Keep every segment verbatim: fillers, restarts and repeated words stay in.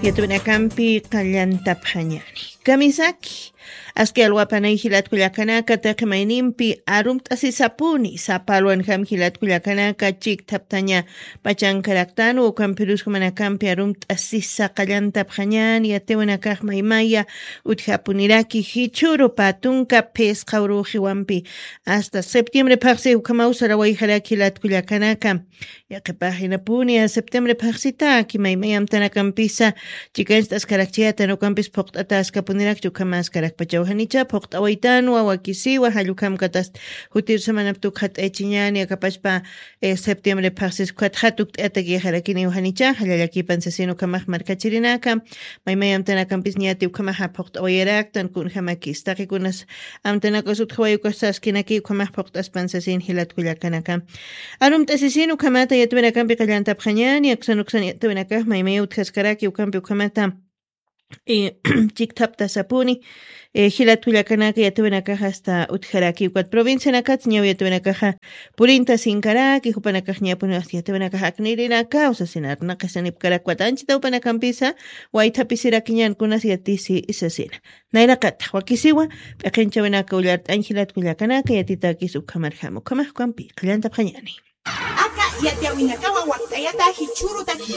Yatwinakampi qallantapxañani. Kamisaki, aski alwapanay jilatkullakanaka taqi maynimpi arumt'asisapuni, sapalwanjam jilatkullakanaka chikthaptaña pachankaraktanu, ukampirus jumanakampi arumt'asisa qallantapxañani, yatwinakax maymaya utjapuniraki jichhuru patunka phisqa uruxiwampi. Hasta septiembre phaxsi ukhamaw sarawayjaraki jilatkullakanaka. Yaqhipax jinapuni, a septiembre phaxsitaki maymay amtanakampisa chikancht'askarakchiyatan, ukampis phuqt'ataskapunirakchi, ukhamaskarakpachaw janicha phuqt'awaytanwa, wakisiwa, jallukhamkatas jutir samanap tukxat'aychiñani, akapachpa, eh, septiembre phaxsis ukhatxa tukt'ayatakixarakiniw janicha, jallallakipan sasin ukhamax markachirinaka, maymay amtanakampis ñati ukhamaxa phuqt'awayaraktan, kunjamakis taqikunas amtanakas utjaway ukas saskinaki ukhamax phuqt'aspan sasin jilatkullakanaka. Arumt'asisin ukhamata yatwinakampi qallantapxañani, aksan uksan yatwinakax maymaya utjaskaraki ukampi ukhamata, eh, chikthaptasapuni, eh, jilatkullakanaka yatwinakax hasta utjaraki ukat provincianakats ñaw yatwinakaxa purinta sinkaraki, jupanakax ñapuni hasta yatwinakax aknirinaka, usasina arnaqisanipkarak watanchita jupanakampisa, waythapisirakiñan kunas yatisi isasina. Nayraqatax wakisiwa, p'iqinchawinaka ullart'añ jilatkullakanaka yatitakis ukhamarjam, ukhamax ukampi qallantapxañani. Aka yatiyawinakawa wakt'ayata jichhürutaki.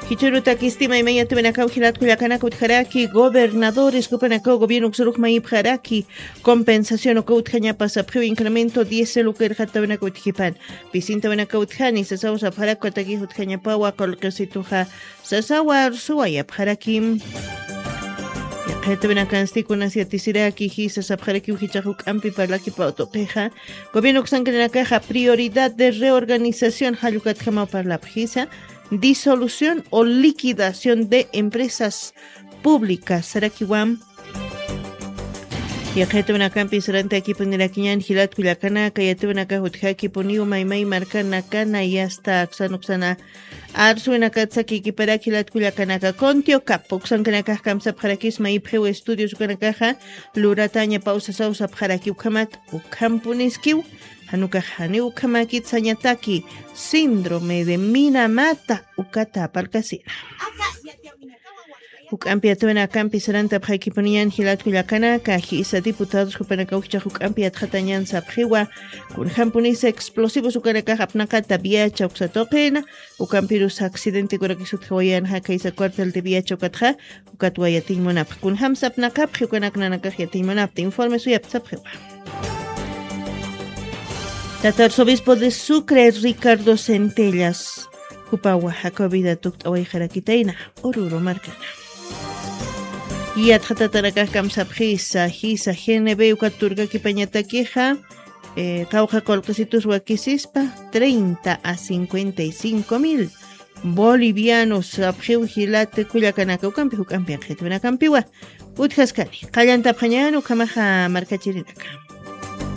Jichhürutakisti maymay yatiyawinakaw jilatkullakanaka utjaraki, gobernadores jupanakaw gobierno uksurux mayipxaraki, compensación uka utjañapa sapxiw incremento diésel uka irxatawinaka utjipan. Pisintawinaka utjani, sasaw sapxarakwa taqi utjañapawa, qullqisituxa sasawa arsuwayapxarakim. Yaqhitawinakansti kunas yatisiraki, jisa sapxarakiw jichhax juk'ampi parlakipaw tuqixa. Gobierno uksankirinakaxa prioridad de reorganización jallukatjamaw parlapxisa, disolución o liquidación de empresas públicas sarakiwam. Yaqhitawinakampi sarantakipunirakiñan jilatkullakanaka, yatawinakax utjakipuniw maymay markanakana, yasta aksan uksana arsuwinakat sakikiparak jilatkullakanaka. Contiocapo uksankanakax kamsapxarakis mayipxiw estudios ukanakaxa luratañapaw sasaw sapxaraki, ukhamat ukhampuniskiw, janukax janiw ukhamakit sañataki síndrome de Minamata ukata parkasina. Juk'ampi yatawinakampi sarantapxaykipuniñan jilatkullakanaka, jisa diputados jupanakaw jichhax juk'ampi yatxatañan sapxiwa, kunjampunisa explosivos ukanakax apnaqata viacha uksa tuqina, ukampirus accidentekurakis utjawayan jakaysa cuartel de viacha ukatxa, ukatwa yatiñ munapx. Kunjamsa apnaqapxi ukanak nanakax yatiñ munapta, informe suyapta sapxiwa. Tata arzobispo de Sucre, Ricardo Centellas, jupawa jakwa vida tukt'awayxarakitayna Oruro markana. Yatxatatanakax kamsapxisa, jisa G N B ukat turkakipañatakixa, eh, qawqha qullqisitus wakisispa, treinta a cincuenta y cinco mil bolivianos sapxiw jilatkullakanaka, ukampi juk'ampi yaqhitawinakampiwa utjaskani. Qallantapxañan ukhamaxa markachirinaka.